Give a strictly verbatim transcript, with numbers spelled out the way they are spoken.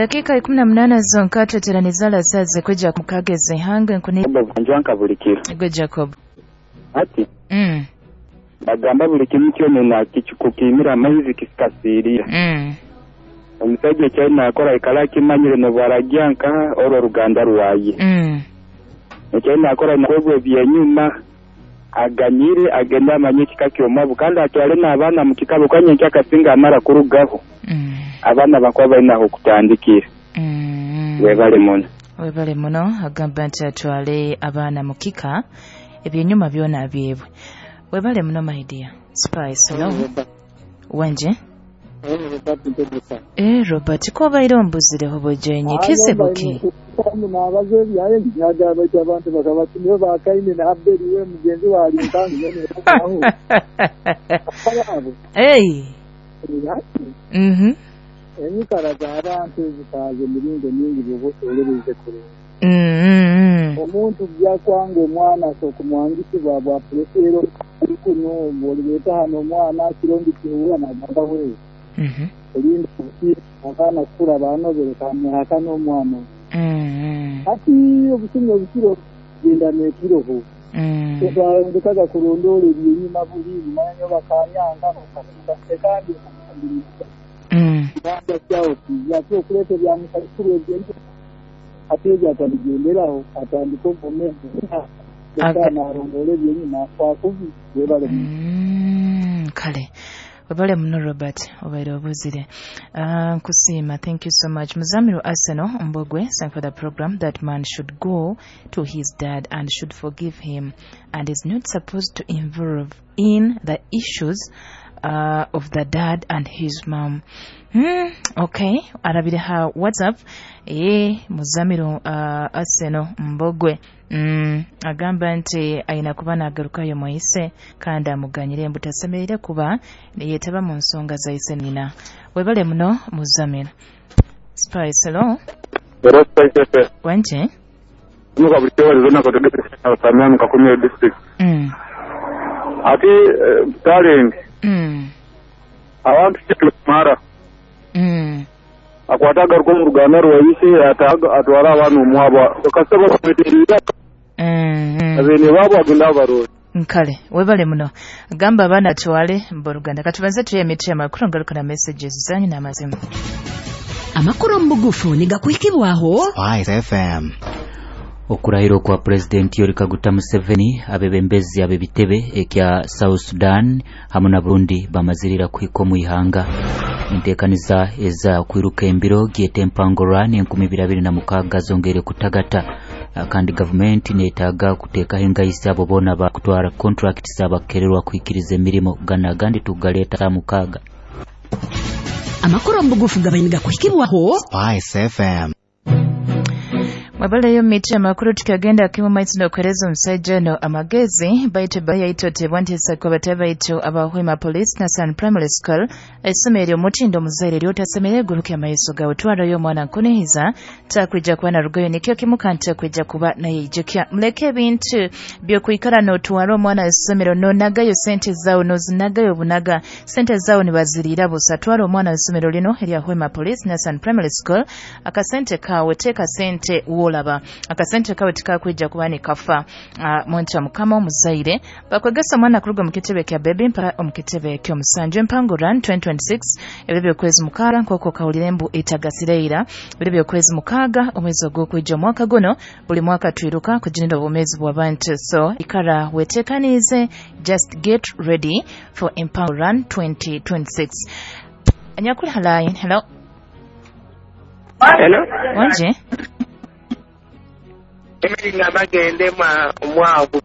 Eddakiika ikumi na munaana zonka tweteraniza lasaze kwijja mukageze hange nkuni njanka buli kiro. Gwe Jacob. Ati mm. Bagamba buli kimu kyonna kikukimira amaizi kisikasiirira. Mm. Omusajja ekyalina akora ikala akimanyire nobwarajja nka olwo ruganda rwaye. Mm. Ekyalina akora nakwebwa ebyenyuma aganyire agenda amanye ekika ky'omwabu kandi atwale n'abaana mu kika bukanye nkyakasinga amara kurugaho. Mm. Abaana bakuba balina okutandikira. Mm. Webale muno. Webale muno agamba nti atwale abaana mu kika ebyenyuma byona byebwe. Webale muno my dear. Spice hello. Wanje? Eh Robert ko baire ombuzireho bojenye kizibuki. Nabaze ebyaye nyaga baitu abantu bakaba nibo bakaine na Abeli we mugenzi wa Alintangi aho. Hey. Mhm. Enyikara z'abantu zikaze emiringo mingi byobusolebeze kurungi. Mm. Omuntu byakwanga omwana sokumwangisibwa bwa pulesero kuno bwoleta hano omwana kirongi kihuwa nagamba we. Mhm. Olinda abaana kukura banobere kamyaka n'omwana. Mm. Ati obusinga obukiro genda n'ekiroho. Mm. Tutandikaga kulondola ebyenyuma buli manyo bakanyanga bakasuka kandi Mm. Kibanda kyawo ate okuleeta ebyamusakulu ebyenju ate ebyo atabigenderaho atandika obwomeezi alongoole ebyenyuma akwakubi webale. Kale webale muno Robert obaire obuzire. Uh, nkusiima, thank you so much. Muzamiru Arsenal Mbogwe, thank for the program. That man should go to his dad and should forgive him and is not supposed to involve in the issues uh, of the dad and his mom. Hmm, okay, arabire ha WhatsApp eh Muzamiru uh, Arsenal Mbogwe mm, agamba nti ayina kuba nagarukayo mwise kandi amuganyire mbu tasemerere kuba yetaba mu nsonga za ise nina. Webale muno Muzamiru. Spice hello. Hello Spice F M. Wanje? Muka buli zona katodde Samia Kakumiro district. Mm. Ati uh, talent. Mm. Abantu mara. Mm. Akwata agaruka mu ruganda rwayise atwara abaana omwabo kasaba kweterera. Mm. Abene babo agenda barori. Nkale webale muno gamba abaana atwale mboruganda katubanze tuye emiti amakuru ngaruka na messages zanyu n'amazima. Amakuru mbugufu nigakuhikibwaho Spice F M. Okurahira kwa President Yoweri Kaguta Museveni abebembezi abebitebe ekya South Sudan hamwe na Burundi bamazirira kuhika mu ihanga. Enteekaniza eza kwiruka embiro gyete empango run enkumi ibiri abiri na mukaaga zongere kutagata kandi gavumenti neetaaga kuteekaho engaisi abo boona bakutwara contracts abakererwa kuhikiriza emirimo gana agandi tugaleeta saa mukaaga. Amakuru mbugufu gabaye nigakuhikibwaho Spice F M. Mwabaleyo miti amakuru tukagenda kimu maizi n'okwereza omusajja no amagezi baitu bayayitotebwa nti esako batabaito abahwema police na San Primary School essomero omutindo omuzaire eryotasemere guruke amaiso gawe twarayo omwana nkunihiza takwija kuba narugayo nikyo kimu kandi takwija kuba nayeijukya. Muleke ebintu byokwikara n'otwara omwana essomero nonagayo sente zaawe nozinagayo obunaga sente zaawe nibaziriira busa. Twara omwana essomero lino erya Hwema Police na San Primary School akasente kawe teeka sente wolaba akasente kawe tikakwija kuba nikafa. Uh, muntu wa mukama omuzaire bakwegesa omwana kuruga mu kitebe kya baby mpaka omu kitebe ky'omusanju empango run twenty twenty-six ebyo by'okwezi mukaaga nk'okwo kawulire mbu etagasireira ebyo by'okwezi mukaaga omwezi ogw'okwija omwaka guno buli mwaka twiruka kuginira obwomeezi bw'abantu. So ikara weteekaniize, just get ready for empango run twenty twenty-six. Anyakuli halayi hello. Hello. Wanje? Emiri nga bagende omwavu.